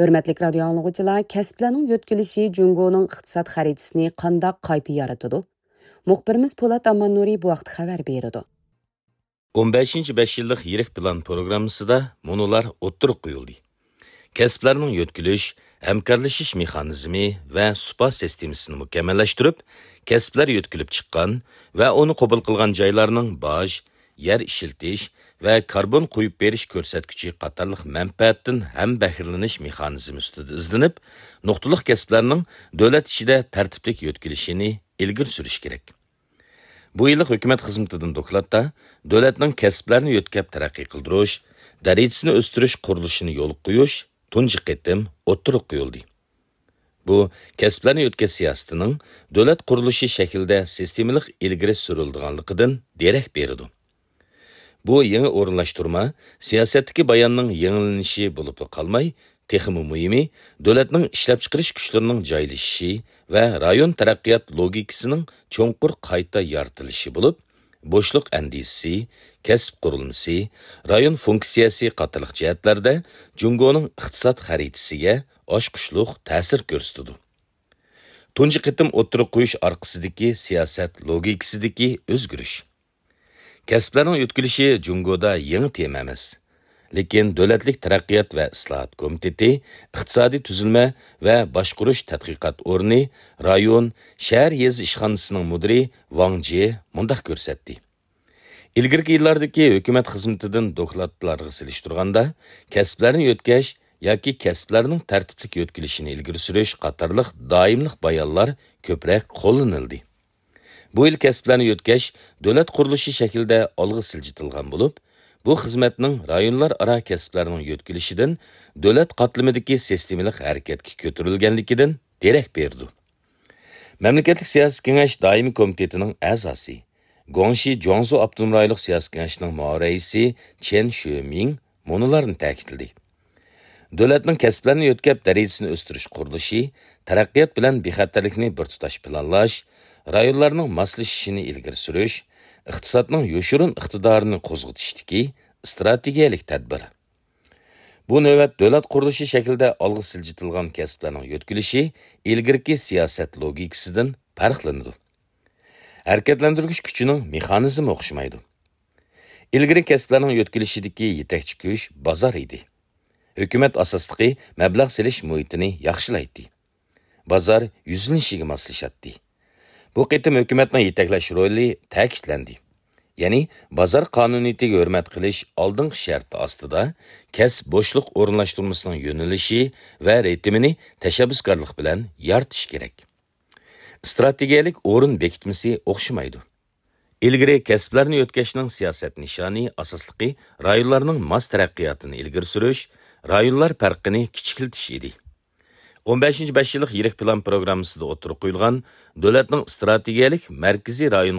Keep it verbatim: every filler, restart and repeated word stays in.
ھۆرمەتلىك رادىيو ئاڭلىغۇچىلار، كەسىپلەرنىڭ يۆتكىلىشى جۇڭگونىڭ ئىقتىساد خەرىتىسىنى قانداق قايتا يارىتىدۇ؟ مۇخبىرىمىز پولات ئاماننۇرى بۇ ھەقتە خەۋەر بېرىدۇ. ئون بەشىنچى بەش يىللىق يىرىك پىلان پروگراممىسىدا مۇنۇلار ئوتتۇرىغا قويۇلدى. كەسىپلەرنىڭ يۆتكىلىش، ھەمكارلىشىش مېخانىزمى ۋە سۇپا سىستېمىسىنى مۇكەممەللەشتۈرۈپ، كەسىپلەر يۆتكىلىپ چىققان ۋە ئۇنى قوبۇل قىلغان جايلارنىڭ باج، يەر ئىشلىتىش ۋە كاربون قويۇپ بېرىش كۆرسەتكۈچى قاتارلىق مەنپەئەتتىن ھەم بەھرىلىنىش مېخانىزمى ئۈستىدە ئىزدىنىپ، نۇقتىلىق كەسىپلەرنىڭ دۆلەت ئىچىدە تەرتىپلىك يۆتكىلىشىنى ئىلگىرى سۈرۈش كېرەك. بۇ يىللىق ھۆكۈمەت خىزمىتىدىن دوكلاتتا دۆلەتنىڭ كەسىپلەرنى يۆتكەپ تەرەققىي قىلدۇرۇش، دەرىجىسىنى ئۆستۈرۈش قۇرۇلۇشىنى يولغا قويۇش تۇنجى قېتىم ئوتتۇرىغا قويۇلدى. بۇ كەسىپلەرنى يۆتكەش سىياسىتىنىڭ دۆلەت قۇرۇلۇشى شەكلىدە سىستېمىلىق ئىلگىرى سۈرۈلىدىغانلىقىدىن دېرەك بېرىدۇ. بۇ يېڭى ئورۇنلاشتۇرما سىياسەتتىكى باياننىڭ يېڭىلىنىشى بولۇپلا قالماي، تېخىمۇ مۇھىمى، دۆلەتنىڭ ئىشلەپچىقىرىش كۈچلىرىنىڭ جايلىشىشى ۋە رايون تەرەققىيات لوگىكىسىنىڭ چوڭقۇر قايتا يارىتىلىشى بولۇپ، بوشلۇق ئەندىزىسى، كەسىپ قۇرۇلمىسى، رايون فۇنكسىيەسى قاتارلىق جەھەتلەردە جۇڭگونىڭ ئىقتىساد خەرىتىسىگە ئاچقۇچلۇق تەسىر كۆرسىتىدۇ. تۇنجى قېتىم ئوتتۇرىغا قويۇش ئارقىسىدىكى سىياسەت لوگىكىسىدىكى ئۆزگىرىش. كەسىپلەرنىڭ يۆتكىلىشى جۇڭگودا يېڭى تېما ئەمەس. لېكىن دۆلەتلىك تەرەققىيات ۋە ئىسلاھات كومىتېتى، ئىقتىسادىي تۈزۈلمە ۋە باشقۇرۇش تەتقىقات ئورنى، رايون، شەھەر يېزا ئىشخانىسىنىڭ مۇدىرى ۋاڭ جې مۇنداق كۆرسەتتى. ئىلگىرىكى يىللاردىكى ھۆكۈمەت خىزمىتىدىن دوكلاتلارغا سېلىشتۇرغاندا، كەسىپلەرنى يۆتكەش ياكى كەسىپلەرنىڭ تەرتىپلىك يۆتكىلىشىنى ئىلگىرى سۈرۈش قاتارلىق دائىملىق بايانلار كۆپرەك قوللىنىلدى. بۇ يىل كەسىپلەرنى يۆتكەش دۆلەت قۇرۇلۇشى شەكلىدە ئالغا سىلجىتىلغان بولۇپ، بۇ خىزمەتنىڭ رايونلار ئارا كەسىپلەرنىڭ يۆتكىلىشىدىن دۆلەت قاتلىمىدىكى سىستېمىلىق ھەرىكەتكە كۆتۈرۈلگەنلىكىدىن دېرەك بېرىدۇ. مەملىكەتلىك سىياسىي كېڭەش دائىمىي كومىتېتىنىڭ ئەزاسى، گۇاڭشى جۇاڭزۇ ئاپتونوم رايونلۇق سىياسىي كېڭەشنىڭ مۇئاۋىن رەئىسى چېن شۆمىڭ مۇنۇلارنى تەكىتلىدى. دۆلەتنىڭ كەسىپلەرنى يۆتكەپ دەرىجىسىنى ئۆستۈرۈش قۇرۇلۇشى، تەرەققىيات بىلەن بىخەتەرلىكنى بىر تۇتاش پىلانلاش، رايونلارنىڭ ماسلىشىشىنى ئىلگىرى سۈرۈش، ئىقتىسادنىڭ يوشۇرۇن ئىقتىدارىنى قوزغىتىشتىكى ئىستراتېگىيەلىك تەدبىر. بۇ نۆۋەت دۆلەت قۇرۇلۇشى شەكلىدە ئالغا سىلجىتىلغان كەسىپلەرنىڭ يۆتكىلىشى ئىلگىرىكى سىياسەت لوگىكىسىدىن پەرقلىنىدۇ. ھەرىكەتلەندۈرگۈچ كۈچىنىڭ مېخانىزمى ئوخشىمايدۇ. ئىلگىرى كەسىپلەرنىڭ يۆتكىلىشىدىكى يېتەكچى كۈچ بازار ئىدى. ھۆكۈمەت ئاساسلىقى مەبلەغ سېلىش مۇھىتىنى ياخشىلايتتى. بازار يۈزلىنىشىگە ماسلىشاتتى. بۇ قېتىم ھۆكۈمەتنىڭ يېتەكلەش رولى تەكىتلەندى. يەنى بازار قانۇنىيىتىگە ھۆرمەت قىلىش ئالدىنقى شەرتى ئاستىدا كەسىپ بوشلۇق ئورۇنلاشتۇرمىسىنىڭ يۆنىلىشى ۋە رىتىمىنى تەشەببۇسكارلىق بىلەن يارىتىش كېرەك. ئىستراتېگىيەلىك ئورۇن بېكىتمىسى ئوخشىمايدۇ. ئىلگىرى كەسىپلەرنى يۆتكەشنىڭ سىياسەت نىشانى ئاساسلىقى رايونلارنىڭ ماس تەرەققىياتىنى ئىلگىرى سۈرۈش، رايونلار پەرقىنى كىچىكلىتىش ئىدى. ئون بەشىنچى بەش يىللىق يىرىك پىلان پروگراممىسىدا ئوتتۇرىغا قويۇلغان دۆلەتنىڭ ئىستراتېگىيەلىك مەركىزىي رايون